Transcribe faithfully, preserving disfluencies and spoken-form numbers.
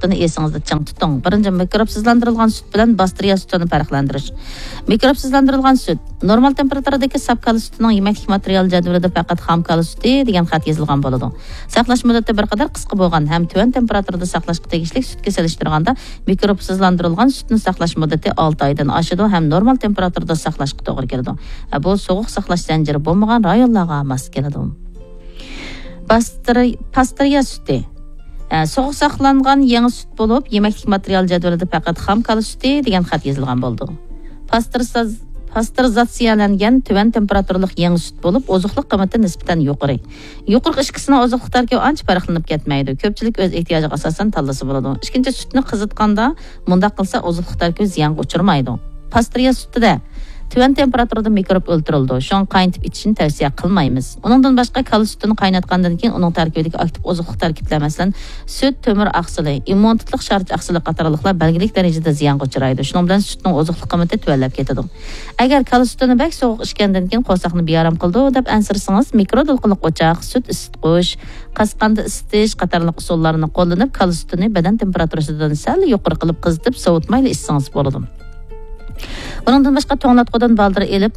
سۈتىنى ئېسىڭىزدە چىڭ تۇتۇڭ. بىرىنچى، مىكروبسىزلاندۇرۇلغان سۈت بىلەن باستېرىيە سۈتىنى پەرقلەندۈرۈش. مىكروبسىزلاندۇرۇلغان سۈت. نورمال تېمپېراتۇرىدىكى ساپ كالا سۈتىنىڭ يېمەكلىك ماتېرىيال جەدۋىلىدە پەقەت خام كالا سۈتى دېگەن خەت يېزىلغان بولىدۇ. ساقلاش مۇددىتى بىر قەدەر قىسقا بولغان ھەم تۆۋەن تېمپېراتۇرىدا ساقلاشقا تېگىشلىك سۈتكە سېلىشتۇرغاندا مىكروبسىزلاندۇرۇلغان سۈتنى ساقلاش مۇددىتى ئالتە ئايدىن ئاشىدۇ ھەم نورمال تېمپېراتۇرىدا ساقلاشقا توغرا كېلىدۇ. ھە، بۇ سوغۇق ساقلاش زەنجىرى بولمىغان رايونلارغا ماس كېلىدۇ. باستىرى-، پاستېرىيە سۈتى. ھە، سوغۇق ساقلانغان يېڭى سۈت بولۇپ، يېمەكلىك ماتېرىيال جەدۋىلىدە پەقەت خام كالا سۈتى دېگەن خەت يېزىلغان بولىدۇ. پاستېرىزاز-، پاستېرىزاتسىيەلەنگەن تۆۋەن تېمپېراتۇرىلىق يېڭى سۈت بولۇپ، ئوزۇقلۇق قىممىتى نىسبەتەن يۇقىرى. يۇقىرىقى ئىككىسىنىڭ ئوزۇقلۇق تەركىبى ئانچە پەرقلىنىپ كەتمەيدۇ. كۆپچىلىك ئۆز ئېھتىياجىغا ئاساسەن تاللىسا بولىدۇ. ئىككىنچى، سۈتنى قىزىتقاندا مۇنداق قىلسا ئوزۇقلۇق تەركىبى زىيانغا ئۇچرىمايدۇ. پاستېرىيە سۈتىدە تۆۋەن تېمپېراتۇرىدا مىكروب ئۆلتۈرۈلىدۇ. شۇڭا قاينىتىپ ئىچىشنى تەۋسىيە قىلمايمىز. ئۇنىڭدىن باشقا، كالا سۈتىنى قايناتقاندىن كېيىن ئۇنىڭ تەركىبىدىكى ئاكتىپ ئوزۇقلۇق تەركىبلەر، مەسىلەن، سۈت، تۆمۈر ئاقسىلى، ئىممۇنىتېتلىق شارچە ئاقسىلى قاتارلىقلار بەلگىلىك دەرىجىدە زىيانغا ئۇچرايدۇ. شۇنىڭ بىلەن سۈتنىڭ ئوزۇقلۇق قىممىتى تۆۋەنلەپ كېتىدۇ. ئەگەر كالا سۈتىنى بەك سوغۇق ئىچكەندىن كېيىن قورساقنى بىئارام قىلىدۇ دەپ ئەنسىرىسىڭىز، مىكرو دولقۇنلۇق ئوچاق، سۈت ئىسسىتقۇچ، قاسقاندا ئىسسىتىش قاتارلىق ئۇسۇللارنى قوللىنىپ، كالا سۈتىنى بەدەن تېمپېراتۇرىسىدىن سەل يۇقىرى قىلىپ قىزىتىپ، سوۋۇتمايلا ئىچسىڭىز بولىدۇ. ئۇنىڭدىن باشقا، توڭلاتقۇدىن بالدۇر ئېلىپ،